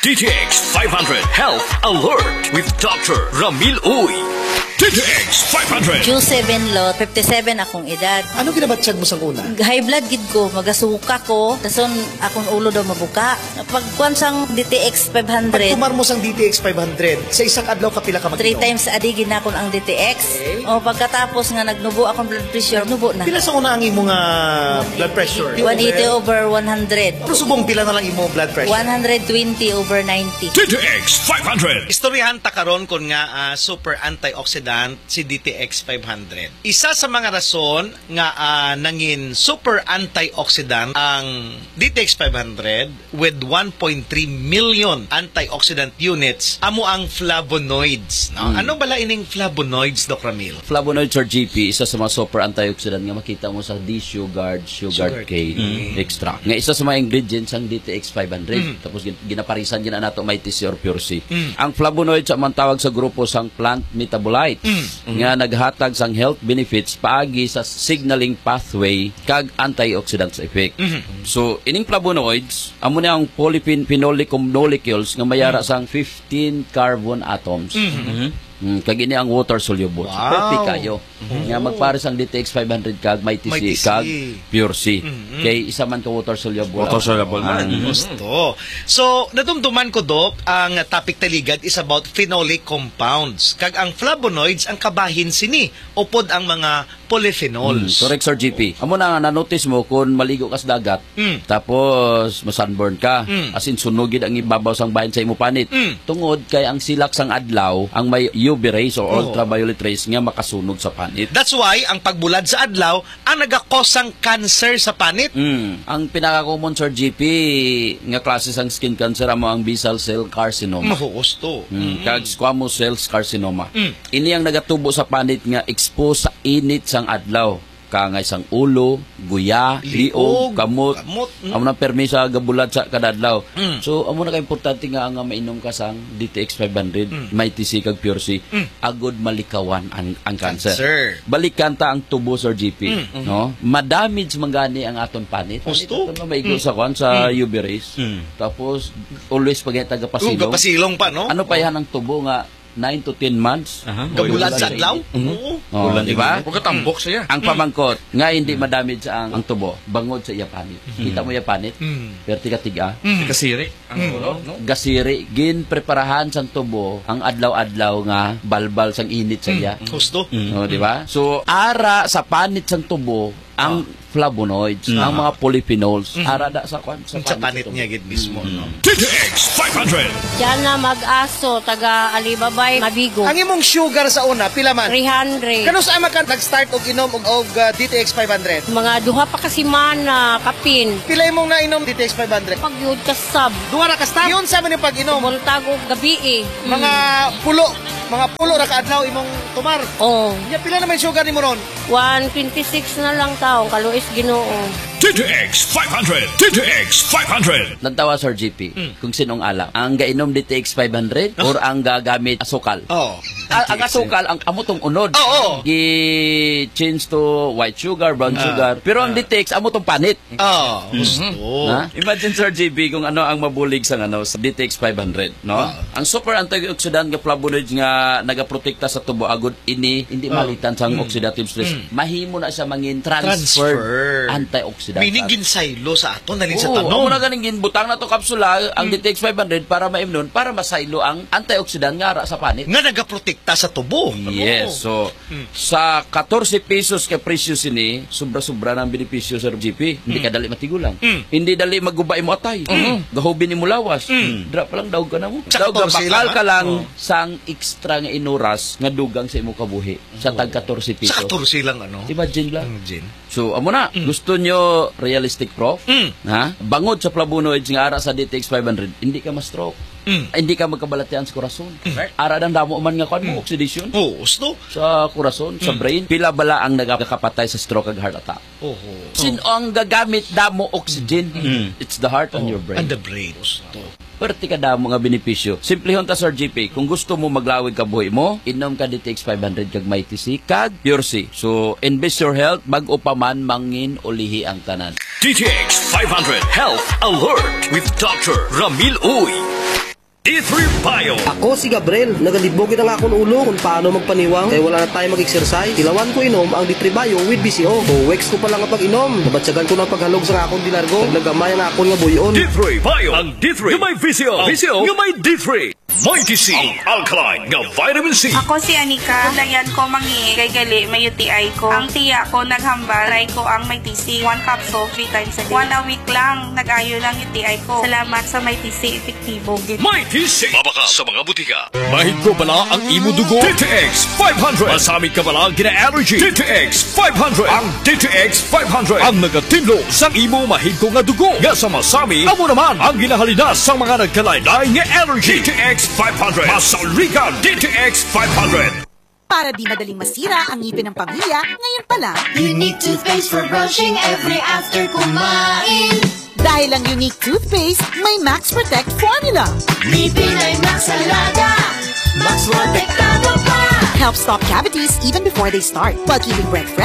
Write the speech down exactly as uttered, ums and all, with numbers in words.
D T X five hundred Health Alert with Doctor Ramil Uy. D T X five hundred. June seven, Lot, fifty-seven akong edad. Ano ginabatyag mo sang una? High blood gid ko, magasuka ko, dason akong ulo daw mabuka. Pagkuan sang D T X five hundred. Pagtumar mo sang D T X five hundred, sa isang adlaw ka pila ka mag-inom? Three times a day ginakon ang D T X. Okay. O, pagkatapos nga nagnubo akong blood pressure, nubo na. Pila sa una ang imo nga blood pressure? One eighty over one hundred. Pero subong pila na lang imo blood pressure? One hundred twenty over ninety. D T X five hundred. Istoryahan ta karon kon nga, ah, super antioxidant si D T X five hundred. Isa sa mga rason nga, ah, nangin super antioxidant ang D T X five hundred with one point three million antioxidant units amo ang flavonoids, no? Mm. Ano bala ining flavonoids, Doc Ramil? Flavonoids, Sir G P, isa sa mga super antioxidant nga makita mo sa D Sugared, sugar cane extract. Nga isa sa mga ingredients ang D T X five hundred. Mm. Tapos gin-, ginaparisan gina nato may T C or Pure C. Mm. Ang flavonoids ang tawag sa grupo sang plant metabolite nga naghatag sang health benefits paagi sa signaling pathway kag antioxidants effect. Mhm. So, ining flavonoids, amo ni ang polyphenolic molecules nga may ara sang fifteen carbon atoms. Mhm. Mm, kag ini ang water soluble. Wow. Perfect kayo. Mhm. Nga magpares ang D T X five hundred kag may T C kag Pure C. Mhm. Kay isa man ka water soluble. Water soluble man. Mhm. Gusto. So, nadumduman ko, Doc, ang topic taligad is about phenolic compounds. Kag ang flavonoids ang kabahin sini, upod ang mga polyphenols. Mm, correct, Sir G P. Amo na nga, na-notice mo kung maligo ka sa dagat, Mm. tapos masunburn ka, Mm. as in, sunog gid ang ibabaw sang bahin sa imo panit. Mm. Tungod kay ang silak sang adlaw ang may U V rays o Oo. ultraviolet rays nga makasunog sa panit. That's why ang pagbulad sa adlaw ang nagakos sang cancer sa panit. Mm. Ang pinaka-common, Sir G P, nga klase sang skin cancer amo ang basal cell carcinoma. Mahuos to. Mm. Mm. Kag squamous cell carcinoma. Mm. Ini ang nagatubo sa panit nga expose sa init sang adlaw. Kangay sang ulo, guya, Liog, liog, kamot. kamot, mm. Amo nang permi sa gabulad sa kada adlaw. Mm. So, amo na ka importante nga, nga mainom ka sang D T X five hundred, Mm. may T C kag Pure C, Mm. agod malikawan ang, ang cancer. Cancer. Balikan ta ang tubo, Sir G P, Mm. no? Madamage man gani ang aton panit. Husto. Panit aton nga maigo Mm. sa kwan, sa Mm. U V rays. Mm. Tapos, always pa gani taga Pasilong. Taga Pasilong pa, no? Ano pa Oh. yan ang tubo nga nine to ten months. Aha. Gabulad sa adlaw? Mhm. Oo. Oh, Ulan di ba? din. Pagkatambok siya. Ang Mm. pamangkot nga hindi Mm. madamage ang, ang tubo, bangod sa iya panit. Mm. Kita mo iya panit? Mm. Perti ka tiga. Mm. Kasiri ang Mm. ulo, no? Gasiri, ginpreparahan sang tubo ang adlaw-adlaw nga balbal sang init sa Mm. iya. Husto. Mm. Oh, di ba? So, ara sa panit sang tubo, ang Ah. flavonoids, Mm. ang mga polyphenols, Mm. ara da sa kwan, sa Sa panit panit sa niya tubo. gid mismo, Mm. no? D T X five hundred. Diana Mag-aso, taga Alibabay, Mabigo. Ang imong sugar sa una, pila man? Three hundred. Kanus-a man ka nag-start og inom og, og, ah, D T X five hundred? Mga duha pa ka semana, kapin. Pila imong nainom D T X five hundred? Pagyud ka sab. Duha ra ka stop? Yun sa man yung pag-inom? Buntag o gabi eh. Mga Mm. pulo, mga pulo ra ka adlaw imong tumar? Oh. Nya, pila naman yung sugar nimo ron? One twenty-six na lang taong kaluis Ginoo. D T X five hundred. D T X five hundred. Lantawa, Sir G P, Mm. kung sinong ala. Ang gainom D T X five hundred Oh. or ang gagamit asukal? Oh. A-, ang asukal, ang amo tong unod. Oh, oh. Gi-change to white sugar, brown Ah. sugar. Pero ang Ah. D T X, amo tong panit. Oh, Mhm. gusto. Ha? Imagine, Sir G P, kung ano ang mabulig sa, ano, sa D T X five hundred, no? Ah. Ang super antioxidant nga flavonoids nga nagaprotekta sa tubo agud ini hindi Ah. malitan sang Mm. oxidative stress. Mm. Mahimo na siya mangin transferred Transfer. antioxidant. Meaning, ginsaylo sa ato, nalin sa Oo, tanom. amo na ganing ginbutang na to kapsula, ang Mm. D T X five hundred para maimnon, para masaylo ang antioxidant nga ara sa panit. Nga nagaprotekta sa tubo. Yes, Oo. so, Mm. sa katorse pesos ka presyo sini, sobra-sobra na ang benepisyo, Sir G P. Hindi Mm. ka dali matigulang. Mm. Hindi dali maguba imo atay. Mm. Gahubin imo lawas. Mm. Dra pa lang, daog ka na mo. Sa Daog ka, katorse bakal lang, ka lang ah. Oh. sang extra nga inuras nga dugang sa imo kabuhi sa Wow. tag katorse Sa pesos. katorse lang, ano? Imagine lang. Imagine. So, amo na. Mm. Gusto nyo realistic proof? Mm. Ha? Bangod sa flavonoids nga ara sa D T X five hundred, hindi ka ma-stroke. Mm. Hindi ka magkabalatian sa korason. Mm. Ara nang damo man nga kwan mo, Mm. oxidation Oo, gusto. sa korason, sa Mm. brain. Pila bala ang nagakapatay sa stroke ag heart attack? Oho. Sin ang gagamit damo oxygen? Mm. It's the heart and Oh, your brain. and the brain. Gusto. Perte ka damo nga benepisyo. Simplehon ta, Sir G P. Kung gusto mo maglawig ka buhi mo, inom ka D T X five hundred kag may T C kag Pure C. So, invest your health, bag-o pa man mangin ulihi ang tanan. D T X five hundred Health Alert with Doctor Ramil Uy. D three Bio. Ako si Gabriel. Nagalibog gid ang akon ulo kung paano magpaniwang kay wala na tayo mag-exercise. Tilawan ko inom ang D three Bio with B C O. Two weeks ko pa lang ang pag-inom. Nabatyagan ko ng paghalog sa akon dilargo. Naglagamay ang akon nga buyon. D three Bio. Ang D three nga may V C O. V C O nga may D three. Mighty C, ang alkaline nga vitamin C. Ako si Anika. Dayan ko mangi kay gali may U T I ko. Ang tiya ko naghambal, try ko ang Mighty C. One capsule, three times a day. One a week lang, nag-ayo lang U T I ko. Salamat sa Mighty C, epektibo gid. Mighty C. Mabaka sa mga butika. Mahidko bala ang imo dugo? D T X five hundred. Masamit ka bala gina-allergy? D T X five hundred. Ang D T X five hundred ang nagatinlo sang imo mahidko nga dugo nga sa masami amo naman ang ginahalinas sang mga nagkalain-lain nga allergy. D T X five hundred. Masaligan D T X five hundred. Para di madaling masira ang ngipin ng pamilya, ngayon pa lang. Unique toothpaste for brushing every after kumain. Dahil ang Unique Toothpaste may Max Protect Formula. Ngipin ay Max Alaga. Max Protektado pa. Helps stop cavities even before they start, while keeping breath fresh